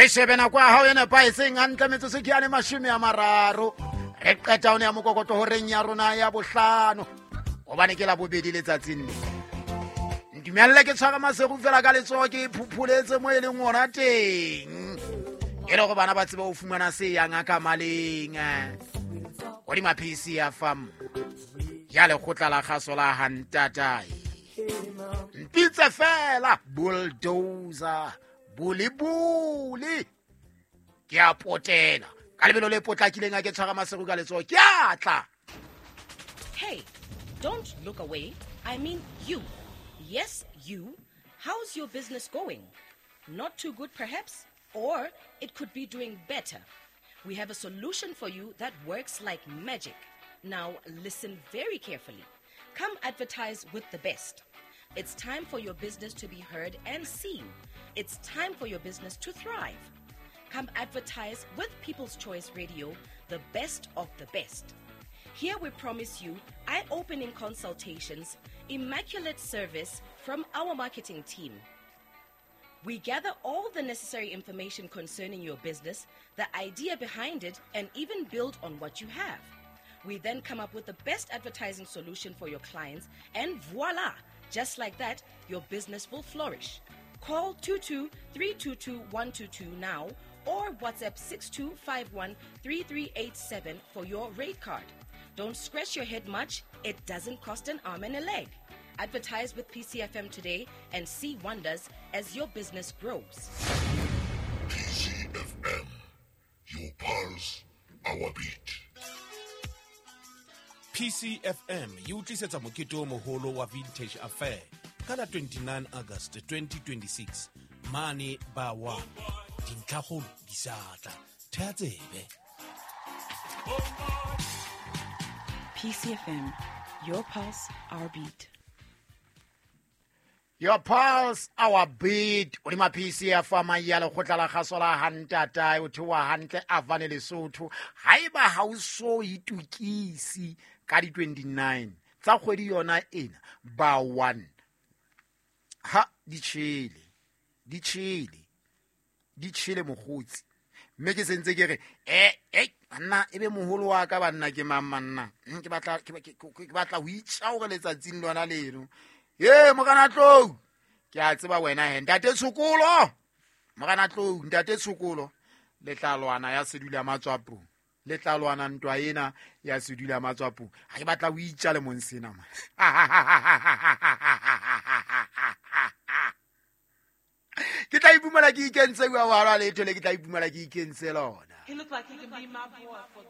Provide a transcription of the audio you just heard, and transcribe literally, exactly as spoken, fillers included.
Re shebe nako ya hao e nepahetseng hantle metsotso ke yane mashome a mararo. Re qeta one ya mokokotlo horeng ya rona ya bohlano. Hobane ke la bobedi letsatsing le. Ntumelle ke tshware Maseru fela ka letsoho ke phupholetse mo e leng hona teng. E le hore bana ba tsebe ho fumana se yang ka maleng. Hodima P C F M ya lekgotla la kgaso la Hantatae. Mpitse fela bulldozer bulibuli. Ke a potela ka lebelo le potlakileng a ke tshwara Maseru ka letsoho ke a tla. Hey, don't look away. I mean you. Yes, you. How's your business going? Not too good perhaps, or it could be doing better. We have a solution for you that works like magic. Now listen very carefully. Come advertise with the best. It's time for your business to be heard and seen. It's time for your business to thrive. Come advertise with People's Choice Radio, the best of the best. Here we promise you eye-opening consultations, immaculate service from our marketing team. We gather all the necessary information concerning your business, the idea behind it, and even build on what you have. We then come up with the best advertising solution for your clients, and voila! Just like that, your business will flourish. Call two two three two two one two two now or WhatsApp six two five one three three eight seven for your rate card. Don't scratch your head much. It doesn't cost an arm and a leg. Advertise with P C F M today and see wonders as your business grows. P C F M, your pulse, our beat. P C F M e o tlisetsa mokete o moholo wa Vintage Affair ka la twenty-nine August twenty twenty-six mane ba one. Dintlhakgolo di sa tla. Theha tsebe. P C F M, your pulse, our beat. Your pulse, our beat. Hodima P C F M ya lekgotla la kgaso la Hantatae, o theoha hantle Avane Lesotho. Haeba ha o so itokisi ka di twenty-nine tsa kgwedi yona ena ba one. Ha di tjhele, di tjhele, di tjhele mokgotsi. Mme ke sentse ke re, eh, eh, banna, ebe moholo wa ka banna ke mang manna? Ke batla, ke, ke, ke, ke batla ho itjha hore letsatsing lona leno. Ye, Morena Tlou, ke a tseba wena he, ntate Tshokolo. Morena Tlou, ntate Tshokolo, le tla lwana ya sedula matswapong. Le tla lwana ntwa ena ya sedula matswapong. Ha ke batla ho itja le mong sena, man. Ke tla ipumana ke ikentse bua wa letho le ke tla ipumana ke ikentse lona. He looked like he can be my boy for this.